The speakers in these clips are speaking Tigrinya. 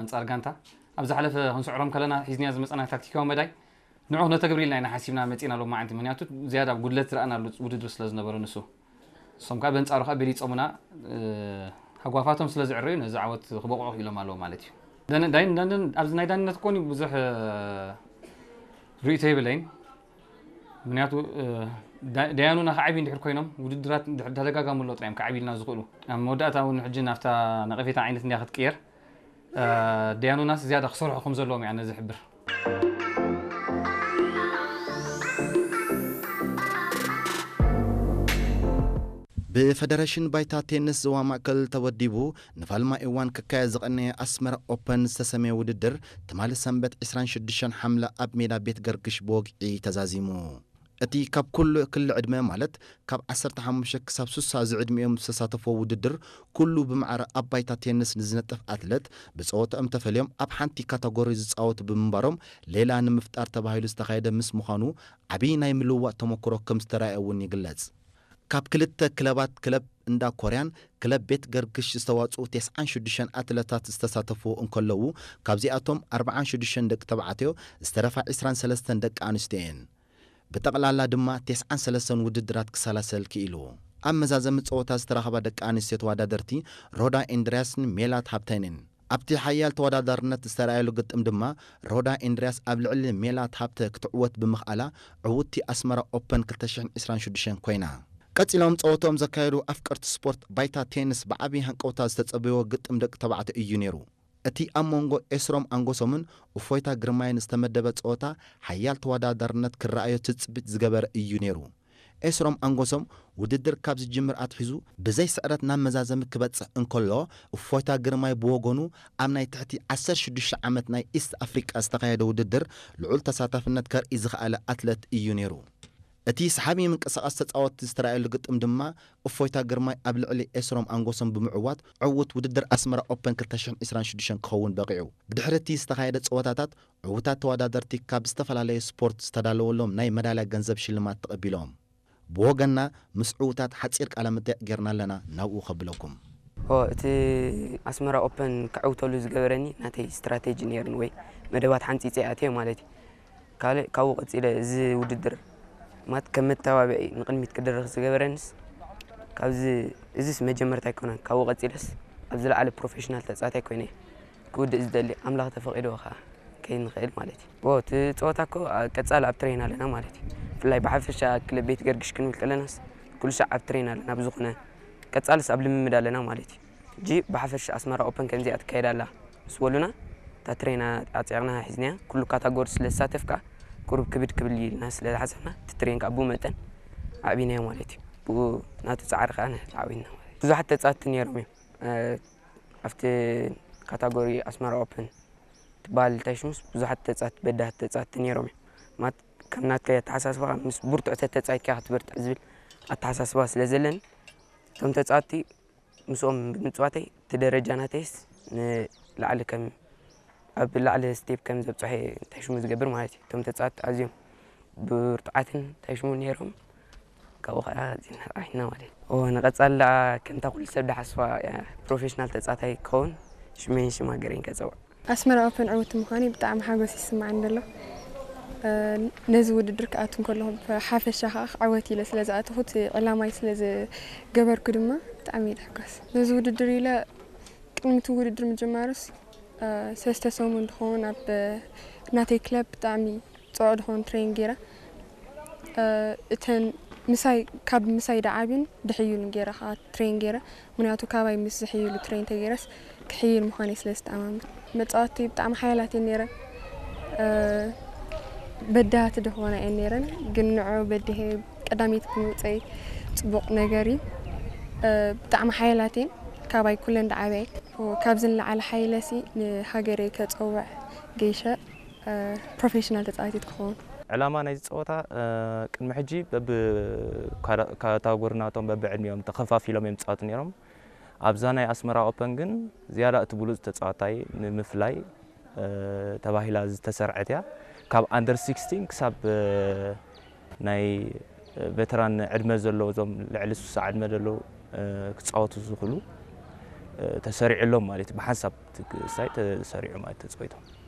ኣንጻር ጋንታ ኣብ ዝሓለፈ ክንስዕሮም ከለና ሒዝናዮ ዝመጻና ታክቲካዊ መዳይ ንዑ ክነተግብር ኢልና ኢና ሓሲብና መጺና ሎማዓንቲ። ምክንያቱ ዝያዳ ጉድለት ዝረኣናሉ ውድድር ስለ ዝነበረ ንሱ። እሶም ከኣ በንጻሩ ከኣ በሊጾምና፣ እ፣ ሃጓፋቶም ስለ ዝዕረዩ ነዚ ዓወት ክበቕዑ ክኢሎም ኣለዉ ማለት እዩ። ዳን-፣ ዳይን-፣ ዳን-፣ ኣብዚ ናይ ዳንነት ኮኒ ብዙሕ፣ እ፣ ርእይቶ የብለይን። ምክንያቱ፣ እ፣ ዳ-፣ ዳያኑና ክዓብዩ እንድሕር ኮይኖም ውድድራት እንድሕር ተደጋጋሚ ኣለዉ ጥራይ እዮም ክዓብዩልና ዝኽእሉ። ኣብ መወዳእታ እውን ሕጂ ናብታ ነቐፌታ ዓይነት እንድያ ክትቅየር። እ፣ ዳያኑናስ ዝያዳ ክሰርሑ ከም ዘለዎም እያ ነዚ ዝሕብር። ብፈደረሽን ባይታ ቴንስ ዞባ ማእከል ተወዲቡ ንፋልማይ እዋን ክካየድ ዝቐነየ ኣስመራ ኦፐን ዝተሰመየ ውድድር ትማሊ ሰንበት ዕስራን ሽዱሽተን ሓምለ ኣብ ሜዳ ቤት ገርግሽ ብወግዒ ተዛዚሙ። እቲ ካብ ኩሉ ክሊ ዕድመ ማለት ካብ ዓሰርተ ሓሙሽተ ክሳብ ስሳ ዝዕድሚኦም ዝተሳተፍዎ ውድድር ኩሉ ብማዕረ ኣብ ባይታ ቴንስ ንዝነጥፍ ኣትለት ብጸወታኦም ተፈልዮም ኣብ ሓንቲ ካታጎሪ ዝጻወቱ ብምንባሮም ሌላ ንምፍጣር ተባሂሉ ዝተኻየደ ምስ ምዃኑ ዓብዪ ናይ ምልውዋጥ ተመክሮ ከም ዝተራእየ እውን ይግለጽ። ካብ ክልተ ክለባት ክለብ እንዳ ኮርያን ክለብ ቤት ገርግሽ ዝተዋጽኡ ተስዓን ሽዱሽተን ኣትለታት ዝተሳተፍዎ እንከለዉ ካብዚኣቶም ኣርብዓን ሽዱሽተን ደቂ ተባዕትዮ ዝተረፋ ዕስራን ሰለስተን ደቂ ኣንስትዮ እየን። ብጠቕላላ ድማ ተስዓን ሰለስተን ውድድራት ክሰላሰል ክኢሉ። ኣብ መዛዘሚ ጸወታ ዝተረኸባ ደቂ ኣንስትዮ ተወዳደርቲ ሮዳ ኤንድርያስን ሜላት ሃብተንን ኣብቲ ሓያል ተወዳዳርነት ዝተረኣየሉ ግጥም ድማ ሮዳ ኤንድርያስ ኣብ ልዕሊ ሜላት ሃብተ ክትዕወት ብምኽኣላ ዕውትቲ ኣስመራ ኦፐን ክልተ ሽሕን ዕስራን ሽዱሽተን ኮይና። ቀጺሎም ጸወትኦም ዘካየዱ ኣፍቀርቲ ስፖርት ባይታ ቴንስ ብዓቢ ሃንቀውታ ዝተጸበይዎ ግጥም ደቂ ተባዕትዮ እዩ ነይሩ። እቲ ኣብ መንጎ ኤስሮም ኣንጎሶምን እፎይታ ግርማይን ዝተመደበ ጸወታ ሓያል ተወዳዳርነት ክረኣዮ ትጽቢት ዝገበረ እዩ ነይሩ። ኤስሮም ኣንጎሶም ውድድር ካብ ዝጅምር ኣትሒዙ ብዘይ ስዕረት ናብ መዛዘሚ ክበጽሕ እንከሎ እፎይታ ግርማይ ብወገኑ ኣብ ናይ ትሕቲ ዓሰርተ ሽዱሽተ ዓመት ናይ ኢስት ኣፍሪቃ ዝተኻየደ ውድድር ልዑል ተሳታፍነት ከርኢ ዝኸኣለ ኣትለት እዩ ነይሩ። እቲ ሰሓቢ ምንቅስቓስ ተጻወትቲ ዝተራእየሉ ግጥም ድማ እፎይታ ግርማይ ኣብ ልዕሊ ኤስሮም ኣንጎሶም ብምዕዋት ዕውት ውድድር ኣስመራ ኦፐን ክልተ ሽሕን ዕስራን ሽዱሽተን ክኸውን በቒዑ። ብድሕሪ እቲ ዝተኻየደ ጸወታታት ዕውታት ተወዳደርቲ ካብ ዝተፈላለዩ ስፖርት ዝተዳለወሎም ናይ መዳልያ ገንዘብ ሽልማት ተቐቢሎም። ብወገንና ምስ ዕውታት ሓጺር ቃለ መጠይቕ ጌርና ኣለና፣ ናብኡ ከብለኩም። ኦ፣ እቲ ኣስመራ ኦፐን ክዕውተሉ ዝገበረኒ ናተይ ስትራቴጂ ነይሩን ወይ መደባት ሓንጺጸ ኣትየ ማለት እዩ። ካልእ ካብኡ ቀጺለ እዚ ውድድር ማለት ከም መተባብዒ ንቕድሚት ክድርኽ ዝገበረንስ ካብዚ እዚስ መጀመርታ ኣይኮነን። ካብኡ ቀጺለስ ኣብ ዝለዓለ ፕሮፌሽናል ተጻዋታይ ኮይነ ክውድእ ዝደሊ ኣምላኽ ተፈቒድዎ ከኣ ከይንኽእል ማለት እዩ። ዎ፣ እቲ ጸወታ እኮ ኣ-፣ ቀጻሊ ኣብ ትሬን ኣለና ማለት እዩ። ብፍላይ ብሓፈሻ ክለብ ቤት ገርግሽ ክንብል ከለናስ ኩሉ ሻዕ ኣብ ትሬን ኣለና። ብዝኾነ ቀጻልስ ኣብ ልምምድ ኣለና ማለት እዩ። ሕጂ ብሓፈሻ ኣስመራ ኦፐን ከምዚኣ ትካየድ ኣላ ምስ በሉና እታ ትሬን ኣጽዒቕና ሒዝናያ። ኩሉ ካታጎሪ ስለ ዝሳተፍ ከኣ ቁሩብ ክብድ ክብል እዩ ኢልና ስለ ዝሓሰብና እቲ ትሬን ከኣ ብኡ መጠን ኣዕቢናዮ ማለት እዩ። ብኡ ናቱ ጻዕሪ ከኣ ንሕና ዓዊንና ማለት እዩ። ብዙሓት ተጻወትቲ ነይሮም እዮም። እ፣ ኣብቲ ካታጎሪ ኣስመራ ኦፕን ትበሃል እንታይ ሽሙስ ብዙሓት ተጻት-፣ በዳህቲ ተጻወትቲ ነይሮም እዮም። ማለት ከም ናትከይ ኣተሓሳስባ ምስ ብርቱዕ ተተጻይትካ ክትበርትዕ ዝብል ኣተሓሳስባ ስለ ዘለኒ እቶም ተጻወትቲ ምስኦም ብምጽዋተይ እቲ ደረጃ ናተይስ ንላዕሊ ከም ኣብ ላዕሊ ስቴፕ ከም ዘብጽሐ እንታይ ሽሙ ዝገብር ማለት እዩ። እቶም ተጻወትቲ ኣዝዮም ብርቱዓትን እንታይ ሽሙ ነይሮም ካብኡ ከዓ ዜና ጣዒና ማለት እዩ። ኦ፣ ንቐጻሊ ደኣ ከምታ ኩሉ ሰብ ደሓስባ እያ ፕሮፌሽናል ተጻታይ ክኸውን ሽመይን ሽም ሃገረይን ከጸውዕ። ኣስመራ ኦፐን ዕውቲ ምዃነይ ብጣዕሚ ሓጎስ ይስማዓኒ ዘሎ። እ፣ ነዚ ውድድር ክኣቱ እንከለኹ ብሓፈሻ ከዓ ክዕወት ኢለ ስለ ዝኣተኹ እቲ ዕላማይ ስለ ዝገበርኩ ድማ ብጣዕሚ እየ ዝሕጎስ። ነዚ ውድድር ኢለ ቅድሚ እቲ ውድድር ምጅማሩስ፣ እ፣ ሰለስተ ሰሙን ዝኸውን ኣብ ናተይ ክለብ ብጣዕሚ ጽዑቕ ዝኾነ ትሬን ገይረ። እ፣ እተን ምሳይ፣ ካብ ምሳይ ደዓብን ድሕዩን ገይረ ከዓ ትሬን ገይረ። ምክንያቱ ካባይ ምስ ዝሕይሉ ትሬን ተገይረስ ክሕይል ምዃነይ ስለ ዝተኣማመን። መጻወትቲ ብጣዕሚ ሓያላት እየን ነይረን። እ፣ በዳህቲ ድኾና እየን ነይረን፣ ግን ንዑ በዲሀ ቀዳመይቲ ብምውፀይ ጽቡቕ ነገር እዩ። እ፣ ብጣዕሚ ሓያላት እየን። ካባይ ኩለን ደዓብያ እየን። ካብዚ ንላዕሊ ሓይለሲ ንሃገረይ ከጸውዕ ገይሸ፣ እ፣ ፕሮፌሽናል ተጻዋቲት ክኸውን። ዕላማ ናይዚ ጸወታ፣ እ፣ ቅድሚ ሕጂ በብ ካዳ-፣ ካታጎሪ ናቶም በብዕድሚኦም ተኸፋፊሎም እዮም ዝጻወቱ ነይሮም። ኣብዛ ናይ ኣስመራ ኦፐን ግን ዝያዳ እቲ ብሉጽ ተጻዋታይ ንምፍላይ፣ እ፣ ተባሂላ ዝተሰርዐት እያ። ካብ ኣንደር ሲክስቲን ክሳብ፣ እ፣ ናይ ቬተራን ዕድመ ዘለዎ፣ እዞም ልዕሊ ስሳ ዕድመ ዘለዉ፣ እ፣ ክጻወቱ ዝኽእሉ ተሰሪዑሎም ማለት እዩ። ብሓንሳብ ሳይ ተሰሪዑ ማለት ተፀዊቶም።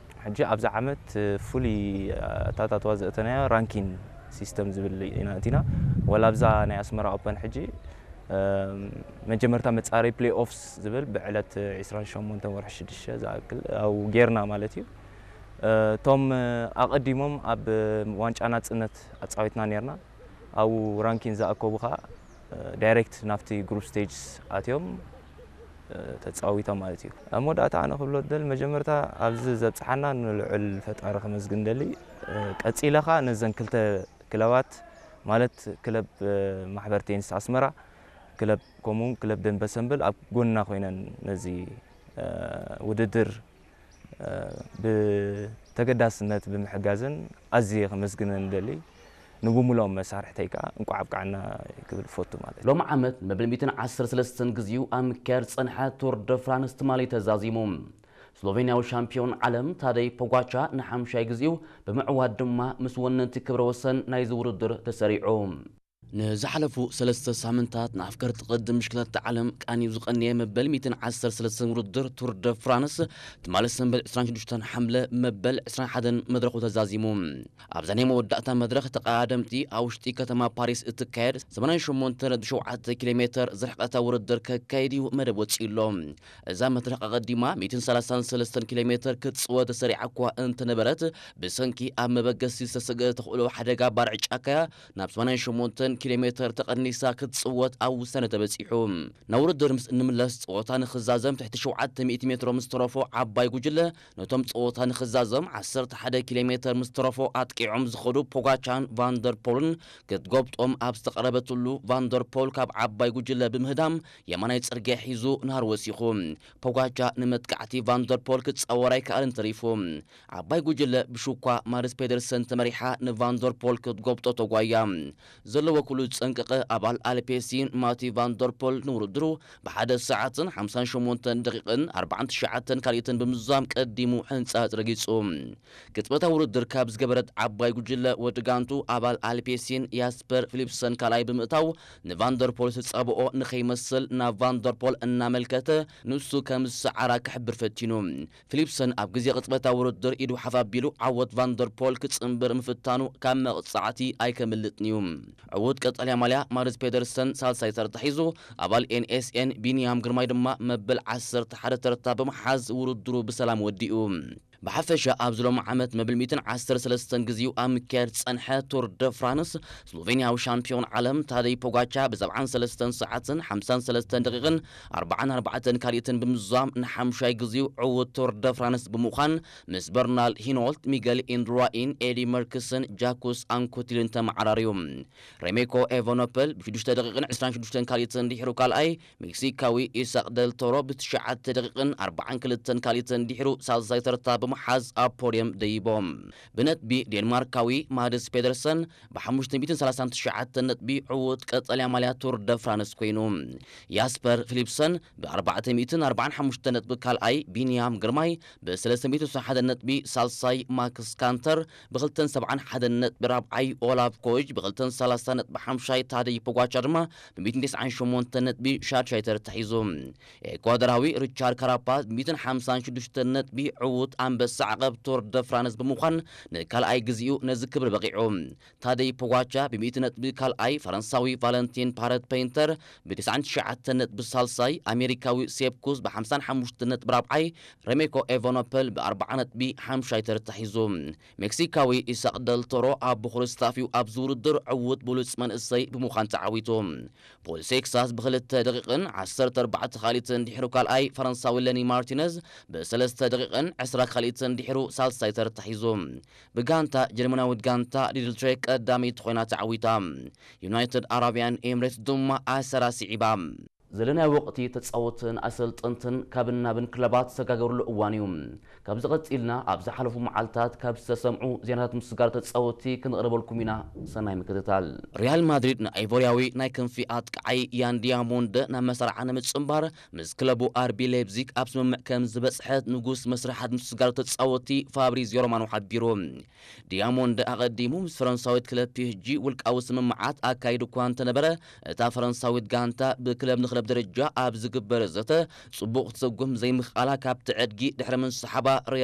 ሕጂ ኣብዚ ዓመት ፍሉይ ኣታታትዋ ዘእተናዮ ራንኪን ሲስተም ዝብል ኢና እቲና። ወላ ኣብዛ ናይ ኣስመራ ኦፐን ሕጂ መጀመርታ መፃረይ ፕሌይ ኦፍስ ዝብል ብዕለት ዕስራን ሸሞንተን ወርሒ ሽዱሽተ ዝኣክል ኣብኡ ጌርና ማለት እዩ። እቶም ኣቐዲሞም ኣብ ዋንጫ ናፅነት ኣፃዊትና ኔርና። ኣብኡ ራንኪን ዝኣከቡ ከዓ ዳይሬክት ናብቲ ግሩፕ ስቴጅስ ኣትዮም ተፃዊቶም ማለት እዩ። ኣብ መወዳእታ ኣነ ክብሎ ደል መጀመርታ ኣብዚ ዘብፅሓና ንልዑል ፈጣሪ ከመስግን ደሊ። ቀፂለ ከዓ ነዘን ክልተ ክለባት ማለት ክለብ ማሕበር ቴኒስ ኣስመራ፣ ክለብ ከምኡውን ክለብ ደንበ ሰንበል ኣብ ጎንና ኮይነን ነዚ ውድድር ብተገዳስነት ብምሕጋዘን ኣዝየ ከመስግነን ደሊ። ንብሙሎም መሳርሕተይ ከዓ እንቋዕ ኣብቃዕና ክብል እፈቱ ማለት እዩ። ሎም ዓመት መበል ሚእትን ዓሰርተ ሰለስተን ግዜኡ ኣብ ምክያድ ዝጸንሐ ቱር ደ ፍራንስ ትማሊ ተዛዚሙ። ስሎቬንያዊ ሻምፒዮን ዓለም ታደይ ፖጋቻ ንሓምሻይ ግዜኡ ብምዕዋት ድማ ምስ ወነንቲ ክብረ ወሰን ናይዚ ውድድር ተሰሪዑ። ንዝሓለፉ ሰለስተ ሳምንታት ንኣፍቀርቲ ቅድድም ብሽክለታ ዓለም ቃንዩ ዝቐነየ መበል ሚእትን ዓሰርተ ሰለስተን ውድድር ቱር ደ ፍራንስ ትማሊ ሰንበት ዕስራን ሽዱሽተን ሓምለ መበል ዕስራን ሓደን መድረኹ ተዛዚሙ። ኣብዛ ናይ መወዳእታ መድረኽ ተቐዳደምቲ ኣብ ውሽጢ ከተማ ፓሪስ እትካየድ ሰማንያን ሸሞንተ ነጥቢ ሸውዓተ ኪሎ ሜትር ዝርሕቐታ ውድድር ከካይድ እዩ መደብ ወጺኡ ኣሎ። እዛ መድረኽ ኣቐዲማ ሚእትን ሰላሳን ሰለስተን ኪሎ ሜትር ክትጽወት ተሰሪዓ እኳ እንተነበረት፣ ብሰንኪ ኣብ መበገሲ ዝተሰግአ ተኽእሎ ሓደጋ ባርዕ ጫካያ ናብ ሰማንያን ሸሞንተን ኪሎ ሜትር ተቐኒሳ ክትጽወት ኣብ ውሳነ ተበጺሑ። ናብ ውድድር ምስ እንምለስ ጸወታ ንኽዛዘም ትሕቲ ሸውዓተ ሚእቲ ሜትሮ ምስ ተረፎ ዓባይ ጉጅለ ነቶም ጸወታ ንኽዛዘም ዓሰርተ ሓደ ኪሎ ሜትር ምስ ተረፎ ኣጥቂዖም ዝኸዱ ፖጋቻን ቫንደርፖልን ክትጎብጦም ኣብ ዝተቐረበትሉ ቫንደርፖል ካብ ዓባይ ጉጅለ ብምህዳም የማናይ ጽርግያ ሒዙ ናህር ወሲኹ። ፖጋቻ ንመጥቃዕቲ ቫንደርፖል ክጻወር ኣይከኣልን ተሪፉ። ዓባይ ጉጅለ ብሹኳ ማርስ ፔደርሰን ተመሪሓ ንቫንደርፖል ክትጎብጦ ተጓያ። ዘለዎ ኩሉ ዝጸንቀቐ ኣባል ኣልፔሲን ማቲ ቫንደርፖል ንውድድሩ ብሓደ ሰዓትን ሓምሳን ሸሞንተን ደቂቕን ኣርባዓን ትሽዓተን ካልኢትን ብምዝዛም ቀዲሙ ሕንጻጽ ረጊጹ። ቅጽበታዊ ውድድር ካብ ዝገበረት ዓባይ ጉጅለ ወዲ ጋንቱ ኣባል ኣልፔሲን ያስፐር ፊሊፕሰን ካልኣይ ብምእታው ንቫንደርፖል ዝተጻብኦ ንኸይመስል ናብ ቫንደርፖል እናመልከተ ንሱ ከም ዝሰዓራ ክሕብር ፈቲኑ። ፊሊፕሰን ኣብ ግዜ ቅጽበታዊ ውድድር ኢዱ ሓፍ ኣቢሉ ዓወት ቫንደርፖል ክጽንብር ምፍታኑ ካብ መቕጻዕቲ ኣይከምልጥን እዩ። ዕዉት ቀጠልያ ማልያ ማርስ ፔደርሰን ሳልሳይ ተርታ ሒዙ፣ ኣባል ኤንኤስኤን ቢንያም ግርማይ ድማ መበል ዓሰርተ ሓደ ተርታ ብምሓዝ ውድድሩ ብሰላም ወዲኡ። ብሓፈሻ ኣብዚ ሎም ዓመት መብል ሚእትን ዓሰርተ ሰለስተን ግዜኡ ኣብ ምክያድ ዝጸንሐ ቱር ደ ፍራንስ፣ ስሎቬንያዊ ሻምፒዮን ዓለም ታደይ ፖጋቻ ብ ሰብዓን ሰለስተን ሰዓትን ሓምሳን ሰለስተን ደቂቕን ኣርባዓን ኣርባዕተን ካልኢትን ብምዝዛም ንሓምሻይ ግዜኡ ዕዉት ቱር ደ ፍራንስ ብምዃን ምስ በርናል ሂኖልት፣ ሚገል ኢንድራኢን፣ ኤዲ መርክስን ጃኩስ ኣንኮቲልን ተመዓራርዩ። ሬሜኮ ኤቨኖፐል ብሽዱሽተ ደቂቕን ዕስራን ሽዱሽተን ካልኢትን ድሒሩ ካልኣይ፣ ሜክሲካዊ ኢሳቅ ደል ቶሮ ብትሽዓተ ደቂቕን ኣርባዓን ክልተን ካልኢትን ድሒሩ ሳልሳይ ተርታ ብምሓዝ ኣብ ፖድየም ደይቦም። ብነጥቢ ዴንማርካዊ ማድስ ፔደርሰን ብሓሙሽተ ሚእትን ሰላሳን ትሽዓተን ነጥቢ ዕዉት ቀጠልያ ማልያ ቱር ደ ፍራንስ ኮይኑ። ያስፐር ፊሊፕሰን ብኣርባዕተ ሚእትን ኣርባዓን ሓሙሽተ ነጥቢ ካልኣይ፣ ቢንያም ግርማይ ብሰለስተ ሚእትን ሰብዓን ሓደን ነጥቢ ሳልሳይ፣ ማክስ ካንተር ብክልተን ሰብዓን ሓደን ነጥቢ ራብዓይ፣ ኦላፍ ኮጅ ብክልተን ሰላሳ ነጥቢ ሓምሻይ፣ ታደይ ፖጋቻ ድማ ብሚእትን ተስዓን ሸሞንተን ነጥቢ ሻድሻይ ተርታ ሒዙ። ኤኳዶራዊ ሪቻርድ ካራፓዝ ብሚእትን ሓምሳን ሽዱሽተን ነጥቢ ዕዉት ኣንበሳ ዓቐብ ቱር ደ ፍራንስ ብምዃን ንካልኣይ ግዜኡ ነዚ ክብሪ በቒዑ። ታደይ ፖጋቻ ብሚእቲ ነጥቢ ካልኣይ፣ ፈረንሳዊ ቫለንቲን ፓረት ፔይንተር ብተስዓን ትሽዓተን ነጥቢ ሳልሳይ፣ ኣሜሪካዊ ሴፕ ኩስ ብሓምሳን ሓሙሽተን ነጥቢ ራብዓይ፣ ሬሜኮ ኤቫኖፐል ብኣርብዓ ነጥቢ ሓምሻይ ተርታ ሒዙ። ሜክሲካዊ ኢሳቅ ደል ቶሮ ኣብ ብኹሪ ስታፊው ኣብዚ ውድድር ዕዉት ብሉጽ መንእሰይ ብምዃን ተዓዊቱ። ፖል ሴክሳስ ብክልተ ደቂቕን ዓሰርተ ኣርባዕተ ካልኢትን ድሒሩ ካልኣይ፣ ፈረንሳዊ ለኒ ማርቲነዝ ብሰለስተ ደቂቕን ዕስራ ካልኢትን ድሒሩ ሳልሳይ ተርታ ሒዙ። ብጋንታ ጀርመናዊት ጋንታ ሊድል ትሬክ ቀዳመይቲ ኮይና ተዓዊታ። ዩናይትድ ኣረብያን ኤምሬትስ ድማ ኣሰራ ስዒባ። ዘለናይ ወቕቲ ተጻወትን ኣሰልጠንትን ካብን ናብን ክለባት ዝሰጋገሩሉ እዋን እዩ። ካብዚ ቀጺልና ኣብ ዝሓለፉ መዓልታት ካብ ዝተሰምዑ ዜናታት ምስጋር ተጻወቲ ክንቕርበልኩም ኢና። ሰናይ ምክትታል። ሪያል ማድሪድ ንኣይቮርያዊ ናይ ክንፊ ኣጥቃዓይ ያን ዲያሞንደ ናብ መሳርዓ ንምጽንባር ምስ ክለቡ ኣርቢ ሌፕዚግ ኣብ ስምምዕ ከም ዝበጽሐት ንጉስ መስርሓት ምስጋር ተጻወቲ ፋብሪዚዮ ሮማኖ ሓቢሩ። ዲያሞንደ ኣቐዲሙ ምስ ፈረንሳዊት ክለብ ፒ ኤስ ጂ ውልቃዊ ስምምዓት ኣካይዱ እኳ እንተነበረ፣ እታ ፈረንሳዊት ጋንታ ብክለብ ንክለብ ደረጃ ኣብ ዝግበር ዘተ ጽቡቕ ክትሰጉም ዘይምኽኣላ ካብቲ ዕድጊ ድሕሪ ምስሓባ ሪያ